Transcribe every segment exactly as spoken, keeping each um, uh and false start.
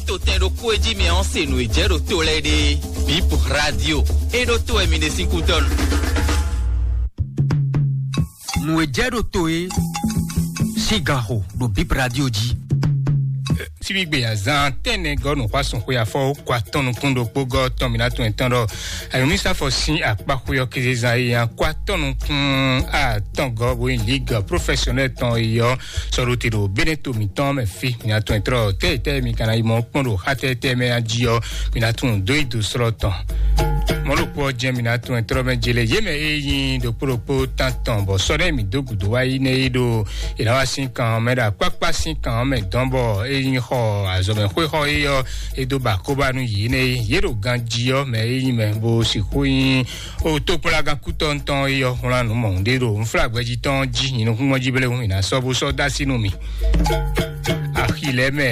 to tɛn ɖokpó e jí mi ɔ́ se nǔ e jɛ ɖo to lɛ́ɛ ɖe. Bip Radio, é ɖó to wɛ mi ɖe sín kútɔ́nu. Nǔ e jɛ ɖo to e sín ganxo ɖo Bip Radio jí. Síbígbe azán tɛnɛ gɔ́ nǔxwásúnxwé afɔ kó atɔn nukún ɖokpó gɔ́ tɔn mi ná tún ɛtɔn ɖɔ ayɔmísafɔ sín akpáxwé ɔ́ kézezán e nya kó atɔn nukún atɔn gɔ́ bó nyí ligue professionnelle tɔn e ɔ́ sɔ́ ɖó te ɖo Beneto mǐtɔn mɛ fí. Mi ná tún ɛtrɔ tɛ́ tɛ́ mi ka ná yi mɔ kpɔ́n ɖo xá tɛ́ tɛ́ mɛ jí ɔ́, mi ná tún dó yi do slɔ́ tɔn. Mɔ̌ ɖokpó ɔ́ jɛ́n mi ná tún ɛtrɔ mɛ jele yě mɛ e nyí ɖokpó ɖokpó tán tɔn bɔ sɔ́ ɖé mi dó gǔdo wá yi nɛ yi ɖo è nǎ wá sín kan ɔ́ mɛ ɖo akpákpá sín kan ɔ́ mɛ dɔn bɔ é nyí xɔ azɔ̌mɛxwé xɔ é ɔ́ é dó ba kóbá nú yě nɛ yi. Yě ɖo ganjí ɔ́ mɛ é nyí mɛ bó sixú nyí o tókplagán kútɔ́ ŋutɔn é ɔ́ wlán nǔ mɔ̌hun ɖé ɖo nflágbɛjí tɔn jí nyi nukúnmɔ́ jí bléwún è nǎ sɔ́ bó sɔ́ dó así nú mì. Axi lɛ́ɛ mɛ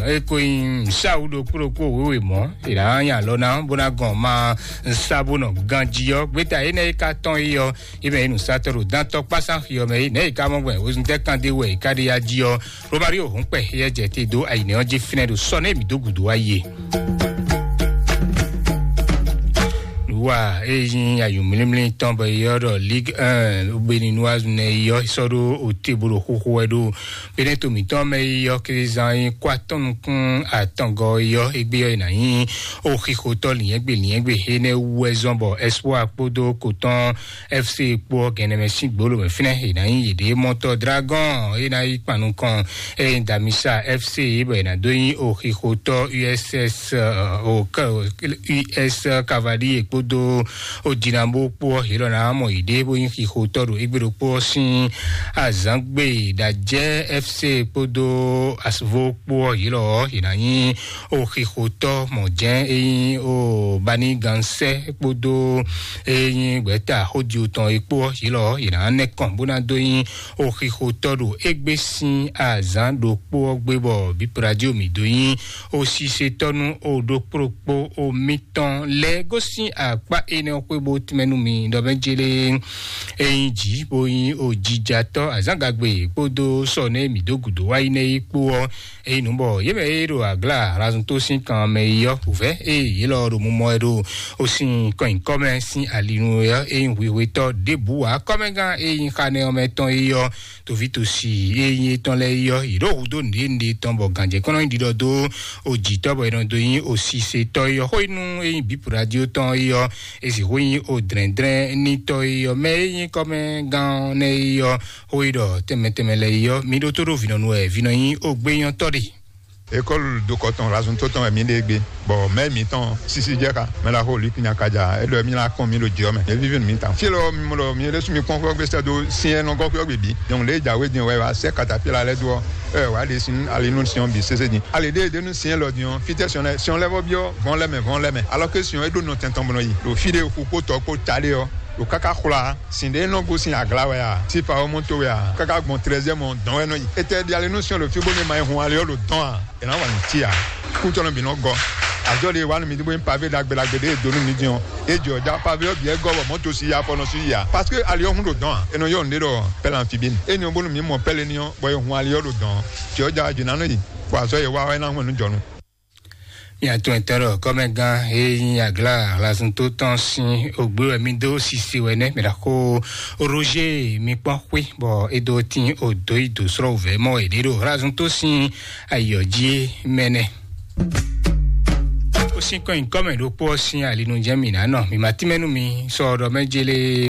é ko nyí nǔsáwú ɖokpó ɖokpó wěwe mɔ̌ è nǎ nya alɔ ná bó ná gɔn ma nsa bó nɔ ganjí ɔ́ gbéta énɛ́ é ka tɔn é ɔ́ é mɛ é nǔsatɔ́ ɖo dántɔ́ kpásán xi ɔ́ mɛ é nɛ̌ è ka mɔ gbɔn wezun tɛ́ kan ɖé wɛ è ka ɖe ya jí ɔ́. Romario hɔn kpɛ xyɛ jɛ te dó ayǐnɛ ɔ́ jí fínɛ́ ɖo sɔ́ nɛ mǐ dó gǔdo wá yi e. Nǔwa e nyí ayǔmlímlí tɔn bɔ yɔ́ ɖɔ Ligue un Beninoise nɛ yɔ́ sɔ́ ɖó ote bó ɖo xóxó wɛ ɖó Beneto mǐtɔn mɛ yɔ́ kézán nyí kó atɔ́ nukún atɔngɔ yɔ́ égbé ɔ́ è nǎ nyí oxixotɔ́ lǐnyɛ́gbe lǐnyɛ́gbe énɛ́ wú wɛ zɔ́n bɔ Espoir kpódó kotɔn F C kpó ɔ́ gɛnɛ mɛ sín gbolo mɛ fínɛ́ è nǎ nyí yěɖée mɔtɔ Dragon é ná yi kpan nukɔn é nyí Damisa F C bɔ è nǎ dó nyí oxixotɔ́ U S S, o, U S Cavalier kpódó o Dinamo kpó ɔ́ yě lɔ ná mɔ yěɖée bó nyí xixotɔ́ ɖo égbé ɖokpó ɔ́ sín azǎngbe ɖajɛ F C kpódó Asvo kpó ɔ́ yě lɔ ɔ́ yě ná nyí oxixotɔ́ mɔ̌ jɛ́n é nyí o Bani Gansɛ kpódó é nyí gbɛ̌ta xódi tɔn é kpó ɔ́ yě lɔ ɔ́ yě ná nɛ́ kɔn bó ná dó nyí oxixotɔ́ ɖo égbé sín azǎn ɖokpó ɔ́ gbé bɔ bípradio mǐ dó nyí osisetɔ́ nú o ɖokpó ɖokpó o mitɔn lɛ́ɛ gosín akpá énɛ́ ɔ́ xwé bó tmɛ nú mi ɖɔ mɛ jélé é nyí jǐ bó nyí o jijatɔ́ azǎngagbe kpódó sɔ nɛ́ mǐ dó gǔdo wá yi nɛ́ é kpó ɔ́. Eyi nǔ bɔ yě mɛ e ɖo aglá Razunto sín kan mɛ yi ɔ́, wǔvɛ́ e yě lɔ ɖo mumɔ wɛ ɖo o sín kɔnnyikɔ́mɛ sín alinu ɔ́, e nyí hwihwetɔ́ ɖěbǔ ǎ. Kɔ́mɛgán e nyí xanɛ ɔ́ mɛ tɔn yi ɔ́, tovítòsi e nyí étɔn lɛ́ɛ yi ɔ́, yě ɖo hudó nǔɖé nǔɖé tɔn bɔ gǎnjɛkɔ́nɔ nyí ɖiɖɔ dó o jǐtɔ́ bɔ è nɔ dó nyí o sisetɔ́ yi ɔ́. Xó yi nú e nyí bǐ radio tɔn yi ɔ́, e sixú nyí o dlɛ̌ndlɛ́nnitɔ́ yi ɔ́, mɛ e nyí kɔ́mɛgán nɛ́ yi ɔ́, xó yi ɖɔ tɛnmɛ tɛnmɛ lɛ́ɛ yi ɔ́, mi ɖótó ɖó vǐnɔnu wɛ vǐnɔ nyí o gbényɔ́tɔ́ ɖe. École dokɔ tɔn Razunto tɔn wɛ mi ɖe gbé. Bɔ mɛ mǐtɔn sisi jɛ xa mɛ la xo Luc Nyakaja e ɖɔ mi la kpɔn mi ɖo jɛ mɛ e vivi mi ta. Fie lɔ mi mɔ ɖɔ mi ɖe su mi kpɔn xɔ gbèsè do siɛ nɔ gɔ xɔ gbèbí. Donc le jawe din wɛ wa sɛ katapila lɛ do ɛ wa ɖe sin ali nu siɔn bi sese din. Ali ɖe ɖe nu siɛ lɔ din fitɛ siɔn lɛ siɔn lɛ vɔ biɔ vɔn lɛ mɛ vɔn lɛ mɛ. Alors que siɔn e ɖo nɔ tɛntɔn bɔnɔ yi. Ɖo fi ɖe xu kpo tɔ kpo ta ɖe ɔ. Ɖo kaka xwla sin ɖe nɔ gosín agla wɛ a, tifa ɔ́ mɔ to wɛ a, kaka gbɔn trɛzɛ mɔ dɔn wɛ nɔ yi. Etɛ ɖi ale nú siɔn ɖo fí bónú ma yi hun ali ɔ́ ɖo dɔn a, è nǎ wa nǔ tí a. Kútɔnɔ bǐ nɔ gɔ. Azɔ ɖe wa nú mi bó nyí pavé ɖagbe ɖagbe ɖe e dó nú mi dín ɔ́, e jɔ ja pavé ɔ́ bǐ ɛ gɔ bɔ mɔ̌ to si ya afɔ nɔ sú yi a. Parce que ali ɔ́ hun ɖo dɔn a, è nɔ yɔ nǔɖé ɖɔ pɛ́lɛ anfibín. Éni ɔ́ bónú mi mɔ pɛ́lɛ ní ɔ́, bɔ è hun ali ɔ́ ɖo dɔn. Jɔ ja jǐ ná nɔ yi, bɔ azɔ e wa ɔ́ é ná hun ɛnu jɔnu. Mia tún ɛtɛ́ ɖɔ kɔ́mɛgán e nyí aglá Hlasunto tɔn sín ògbé wɛ mì dó sise wɛ nɛ́ mɛ ɖaxó Roger mi kpɔ́n xwé bɔ é dó tín odǒ yi dǒ srɔ́ wǔvɛ́ mɔ è ɖě ɖo Hlasunto sín ayǐ ɔ́ jí é mɛ nɛ́. Ó sín kɔn nyǐkɔ mɛ ɖokpó ɔ́ sín ali nu jɛ́n mǐ ná nɔ. Mǐ ma tínmɛ nú mi sɔ ɖɔ mɛ jélé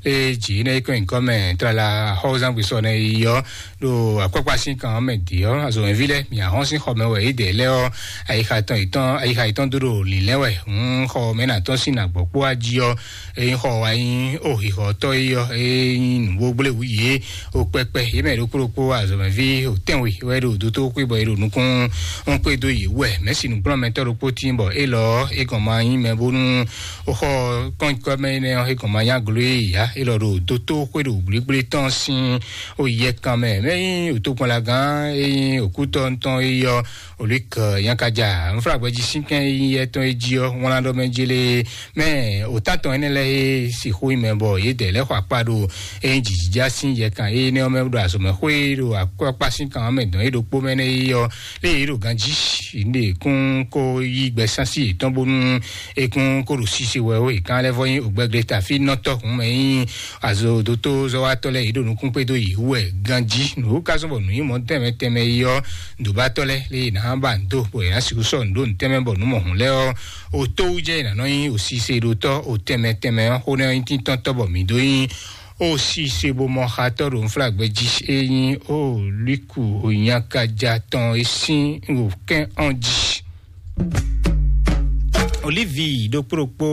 e jǐ nɛ́ é kɔn nyǐkɔ mɛ tlala xɔ́zángbé sɔ nɛ́ yi ɔ́ ɖo akpákpá sín kan ɔ́ mɛ dě ɔ́, azɔ̌mɛví lɛ́ɛ, mì ahɔ́n sín xɔ mɛ wɛ yědɛɛ lɛ́ɛ ɔ́, ayixa tɔn yětɔn ayixa yětɔn dó ɖo lǐnlɛ́n wɛ. Hǔn xɔ mɛ nǎ tɔ́n sín nǎgbɔ́kpó wá jí ɔ́, ényí xɔ wá nyí oxixɔtɔ́ é ɔ́, é nyí nǔgbógbléwú yě o kpɛkpɛ yě mɛ ɖokpó ɖokpó azɔ̌mɛví o tɛ́nwe wɛ ɖo dótó xwé bɔ è ɖo nukún xwé dó yě wɛ. Mɛ̌si nǔkplɔ́nmɛtɔ́ ɖokpó tín bɔ Élɔ́ é gɔn ma nyí mɛ bónú ó xɔ kɔ́nyikɔ́mɛ énɛ́ ɔ́, é gɔn ma nyí aglo e yǎ. Élɔ́ ɖo dótó xwé ɖo gblígblí tɔn sín ó yɛ kan mɛ. Mɛ nyí òtókpɔnlagán é nyí òkútɔ́ tɔn é yɔ olík nyakaja nfúlagbɛjí sínkɛn é nyí yɛ tɔn é jí ɔ́, wlán ɖɔ mɛ jélé mɛ òtántɔn énɛ́ lɛ́ɛ é sixú nyí mɛ bɔ yědɛɛ lɛ́ xɔ akpá ɖo é nyí jǐjǐjá sín yɛ kan énɛ́ ɔ́ mɛ ɖo azɔ̌mɛxwé ɖo akpákpá sín kan ɔ́ mɛ dɔn é ɖokpó mɛ nɛ́ é yɔ. Lé yě ɖo ganjí, yě ɖe kún kó yí gbɛsán sí yětɔn bónú é kún kó ɖo sise wɛ ó. È kan lɛ́ vɔ nyí ògbɛgle tafínɔtɔ́ hǔn mɛ nyí azɔdótó zɔ́watɔ́ lɛ́ɛ yě ɖo nukún kpédó yě wú wɛ ganjí. Nǔ ka zɔ́n bɔ nǔ nyí mɔ tɛnmɛ tɛnmɛ yi ɔ́, nǔɖobatɔ́ lɛ́ɛ lé yě ná ba nǔ dó bɔ yě ná sixú sɔ́ nǔ ɖó nǔ tɛnmɛ bɔ nǔ mɔ hǔn lɛ́ɛ ɔ́, o tó wú jɛ yě ná nɔ nyí o sise ɖotɔ́ o tɛnmɛ tɛnmɛ ɔ́, xó nɛ́ nyí tíntɔ́ntɔ́ bɔ mǐ dó nyí ó si se bó mɔ xatɔ́ ɖo nflágbɛ́ jí é nyí ó líku ònyakaja tɔn é sín wǒkɛ́n ɔ́n jí. Olívi ɖokpó ɖokpó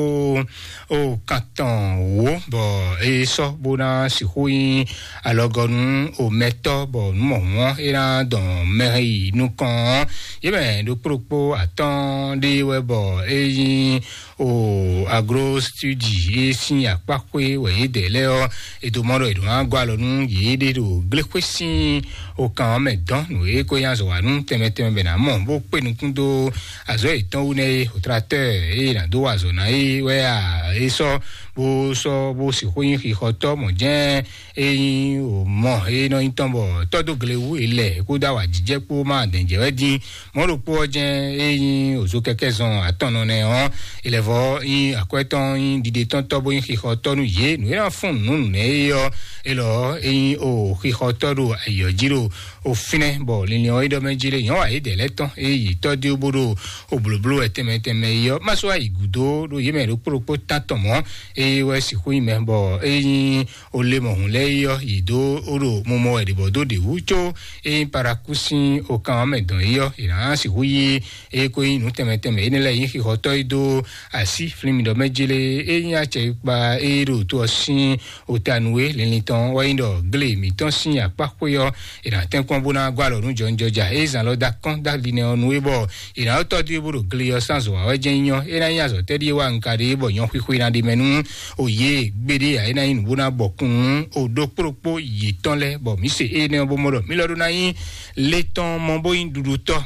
ó kantɔn wǒ bɔ é sɔ́ bó ná sixú nyí alɔgɔnu omɛtɔ́ bɔ nǔ mɔ hǔn ɔ́ é ná dɔn mɛ yi nukɔn ɔ́. Yě mɛ ɖokpó ɖokpó atɔ́ɔ́n ɖé wɛ bɔ é nyí o agro studi é sín akpáxwé wɛ yě dɛ lɛ́ɛ ɔ́, è dǒ mɔ ɖɔ è ɖǒ ná gɔ́ alɔ nú yěɖée ɖo gléxwé sín okan ɔ́ mɛ dɔn nǔ e ko nyí azɔ̌ wa nú tɛnmɛ tɛnmɛ bɛ ná mɔ bó kpé nukún dó azɔ̌ yětɔn wú nɛ́ é. Hotratɛ́ɛ e è nǎ dó wa azɔ̌ ná é wɛ a é sɔ́ bó sɔ́ bó sixú nyí xixɔtɔ́ mɔ̌ jɛ́n é nyí o mɔ é nɔ nyí tɔn bɔ tɔ́ dó gle wú è lɛ kó dó awǎjijɛ kpó má dɛ̌njɛ wɛ dín. Mɔ̌ ɖokpó ɔ́ jɛ́n é nyí òzó kɛkɛ́ zɔn atɔnnɔ nɛ́ ɔ́, è lɛ́ vɔ́ nyí akwɛ́tɔ́ nyí ɖiɖetɔ́ntɔ́ bó nyí xixɔtɔ́ nú yě. Nǔ e ná fún nǔ nǔnɛ é ɔ́, é lɔ é nyí o xixɔtɔ́ ɖo ayǐ ɔ́ jí ɖo o fínɛ́, bɔ linlin ɔ́ é ɖɔ mɛ jí lé nyɔ̌ wa yědɛɛ lɛ́ɛ tɔn é yi tɔ́ dó bó ɖo o blǒbló wɛ tɛnmɛ tɛnmɛ é ɔ́, má sɔ́ wá yi gǔdo ɖo yě mɛ ɖokpó ɖokpó tán tɔn mɔ̌, é wɛ sixú nyí mɛ, bɔ é nyí o le mɔ hǔn lɛ́ɛ é ɔ́, yi dó ó ɖo mumɔ wɛ ɖě bɔ dó ɖě wú có é nyí parakú sín okan ɔ́ mɛ dɔn é ɔ́, è nǎ sixú yí é kó nyí nǔ tɛnmɛ tɛnmɛ énɛ́ lɛ́ɛ nyí xixɔtɔ́ e dó así flín mi ɖɔ mɛ jélé é nyí acɛ e kpa é ɖo to ɔ́ sín ota nú é. Linlin tɔn wɛ nyí ɖɔ glé mǐtɔn sín akpá xwé ɔ́, è nǎ tɛ́nkpɔ́n bó ná gɔ́ alɔ nú jɔnjɔja é zǎn lɔ dó akɔ́n dó ali nɛ ɔ́ nú é bɔ è nǎ tɔ́ dó é bó ɖo glé ɔ́ sín azɔ̌ wa wɛ jɛ́n nyí ɔ́, é ná nyí azɔ̌ tɛ́ ɖíe wa un ka ɖe bɔ nyɔ̌ xwixwe ná ɖe mɛ nú o yě gbeɖé ǎ. É ná nyí nǔ bó ná bɔ kún nú o ɖokpó ɖokpó yětɔn lɛ́ɛ, bɔ mǐ se énɛ́ ɔ́ bó mɔ ɖɔ mǐ lɔ ɖó ná nyí lé tɔn mɔ bó nyí ɖuɖutɔ́.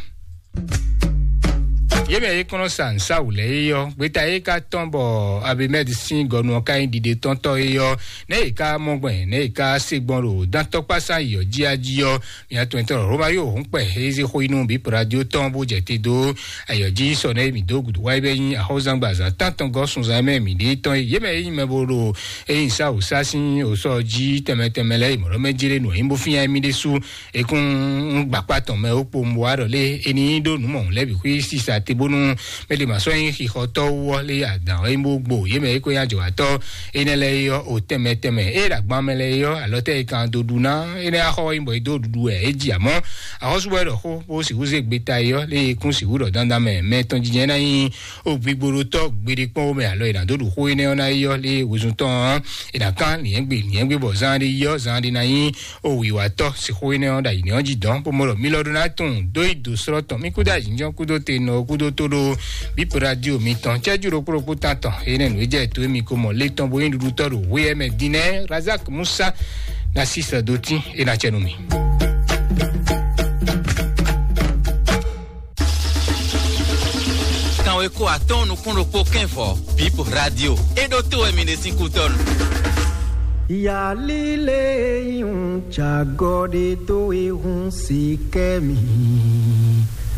Yě mɛ e kɔn nɔ sa nǔsáwǔ lɛ́ɛ é ɔ́, gbeta e ka tɔ́n bɔ Abimɛdi sín gɔnu ɔ́ ka nyí ɖiɖetɔ́ntɔ́ é ɔ́, nɛ̌ è ka mɔ gbɔn, nɛ̌ è ka se gbɔn ɖo dantɔkpásá yi ɔ́ jí a jí ɔ́, mia tɔn tɔn Roma yóò hún kpɛ e zé xó yi nú bí radio tɔn bó jɛ te dó ayɔ jí sɔ nɛ mi dó gudu wáyé bɛ nyi axɔzangba zan tantɔn gɔ sunzan mɛ mi ɖe tɔn yé mɛ yi mɛ bo ɖo eyi sa o sa sin o sɔ jí tɛmɛ tɛmɛ lɛ mɔlɔ mɛ jele nɔ yin bo fia mi ɖe su ekun gbakpa tɔn mɛ o kpo mo wa ɖɔ lé eni ɖo nu mɔ lɛ bi xui sisa te bonu mɛ de ma sɔ yin xixɔ tɔ wɔ lé adan yin bo gbo yé mɛ eko ya jɔ atɔ ene lɛ yɔ o tɛmɛ tɛmɛ e ɖagban mɛ lɛ yɔ alɔ tɛ kan do ɖu ná ene axɔ yin bɔ e do ɖuɖu wɛ e ji amɔ axɔsubɔ ɖɔ xó bó sixú zé gbeta yɔ lé kún sixú ɖɔ dandan mɛ mɛ tɔn jijɛ ná yin o gbigboɖotɔ gbeɖe kpɔn wo mɛ alɔ e na do ɖu xó énɛ́ ɔ́ ná yɔ lé wezun tɔn ɔ́ e na kan liɛngbe liɛngbe bɔ zan ɖe yɔ zan ɖe ná yin o wiwatɔ sixú énɛ́ ɔ́ ɖa yi nɛ ɔ́ ji dɔn bó mɔ ɖɔ mi lɔ ɖo ná tun dó yi do srɔ́ tɔn mi kúdó ayǐjɔ́n kúdó te nɔ kúdó tó ɖó bípo radio mi tɔn cɛ́jú ɖokpó ɖokpó tán tɔn énɛ́ nǔ e jɛ to émi ko mɔ lé tɔn bó yin ɖuɖutɔ ɖo hwé ɛmɛ din nɛ Razak Musa na sísɛ dó tín é ná cɛ nú mi. Kanweko atɔ́ɔ́n nukún ɖokpó kɛ́nvɔ bípo radio é ɖó tó wɛ mi ɖe sín kútɔ́nu. Yalile un cagɔde to ehun si kɛ mi.